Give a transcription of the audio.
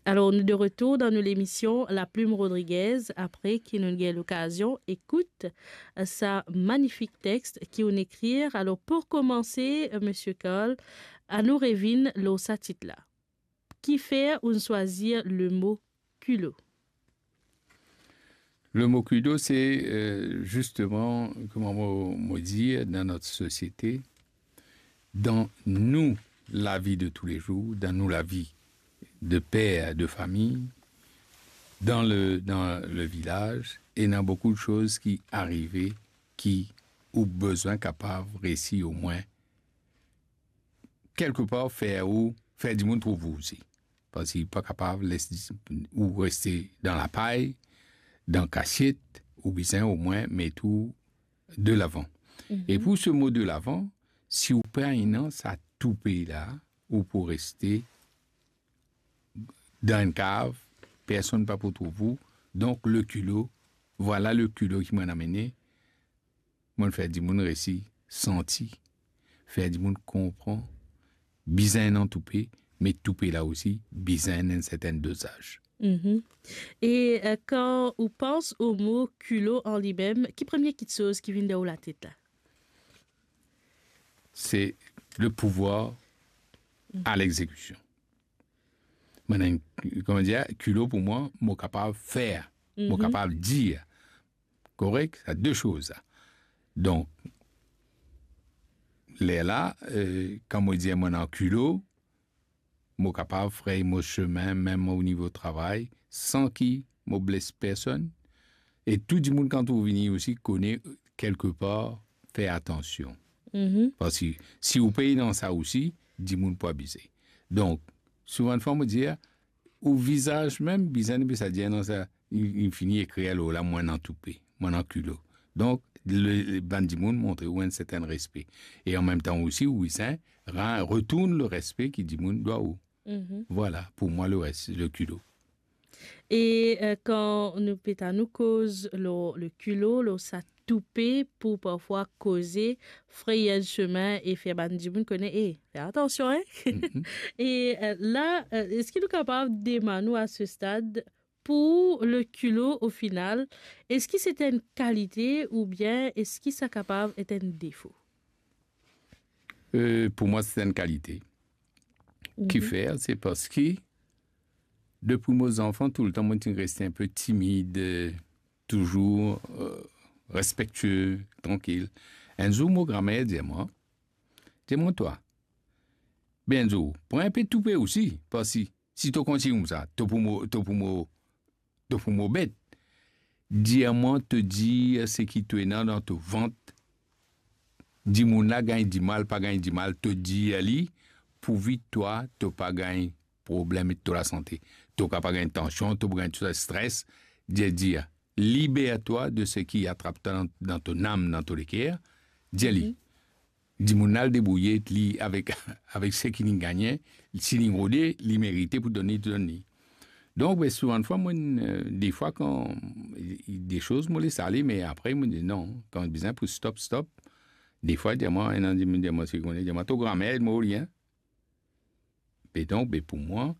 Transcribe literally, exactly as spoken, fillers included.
Alor, nou de retour dan nou lemision La Plume Rodriguez, apre ki nou gagn lokazion ekout, eh, sa manifik text ki ou'nn ekrir. Alor, pou koumanse, eh, Misie Carl, anou revinn lor sa tit la. Kifer ou'nn swazir lemo kilo? Lemo kilo, se, eh, zisteman, kouma mo, mo dir, dan not sosiete, dan nou lavi de toulezour, dan nou lavi de per de fami, dan le, dan le vilaz, ena boukou de soz ki arive ki ou bizin kapav resi omwin kelkepar fer ou, fer dimoun trouv ou osi. Parski pa kapav les ou reste dan lapay, dan kasiet, ou bizin omwin met ou de lavan. Mhm. E pou se mo de lavan, si ou pa ena sa toupe la, ou pou reste dan enn kav, personn pa pou trouv ou. Donk, le kilo, vwala le kilo ki mo'nn amene, mo'nn fer dimoun resi santi, fer dimoun konpran, bizin ena toupe, me toupe la osi, bizin ena enn sertin dozaz. Mhm. E, eh, kan ou pans o mo kilo an limem, ki premie kitsoz ki vinn dan ou latet la? Se le pouvwar a lexekision. Mo'nn, kouma dir, kilo pou mwa, mo kapav fer, mo Mhm. kapav dir. Korek? Sa de soz sa. Donk, lerla, eh, kan mo dir mo'nn an kilo, mo kapav frey mo semin, mem o nivo travay, san ki mo bles personn. E tou dimoun kan trouv vini osi kone kelkepar fer atansion. Mhm. Parski si ou pe dan sa osi, dimoun pou abize. Donk, souvandfwa mo dir, ou vizaz mem, bizin, bizin sa dir, non, sa, li, li fini ekrir lor la, mo'nn an toupe, mo'nn an kilo. Donk, le, le, bann dimoun montre ou enn sertin respe. E an mem tan osi, ou bizin ra-, retourn le respe ki dimoun dwa ou. Mhm. Vwala, pou mwa, le res, le kilo. E, eh, kan nou pe tann ou koz lor le kilo, lor sa toupe pou parfwa koze, frey enn semin e fer bann dimoun kone, "Eh, fer atansion, hein?" Mhm. E, eh, la, eh, eski nou kapav demann ou a se stad, pou le kilo, o final, eski se enn kalite oubien eski sa kapav et enn defo? Eh, pou mwa, se enn kalite. Mhm. Kifer? Se parski, depi mo zanfan, toultan, mo ti reste enn pe timid, eh, touzour, eh, respektie, trankil. Enn zour, mo gramer dir mwa, dir mwa, "Twa, be enn zour, pran enn pe toupe osi, parski si to kontign koumsa, to pou mo, to pou mo, to pou mo bet. Dir mwa, to dir seki to ena dan to vant, dimoun la gagn dimal, pa gagn dimal, to dir li, pourvi twa, to pa gagn problem to lasante. To kapav gagn tansion, to pou gagn tou sa stres, dir, dir, liber twa de seki atrap twa dan, dan to nam, dan to leker, dir li." Mhm. Dimoun la al debrouye li avek, avek seki li gagne, si li rode, li merite pou donn li, to donn li. Donk, be, souvandfwa, mwa, eh, defwa kan, eh, de soz, mo les ale, me apre, mo dir, "Non, kan bizin pou stop, stop." Defwa, dir mwa, ena dimoun dir mwa, seki kone, dir mwa, "To gramer, mo li, hein." Be donk, be pou mwa,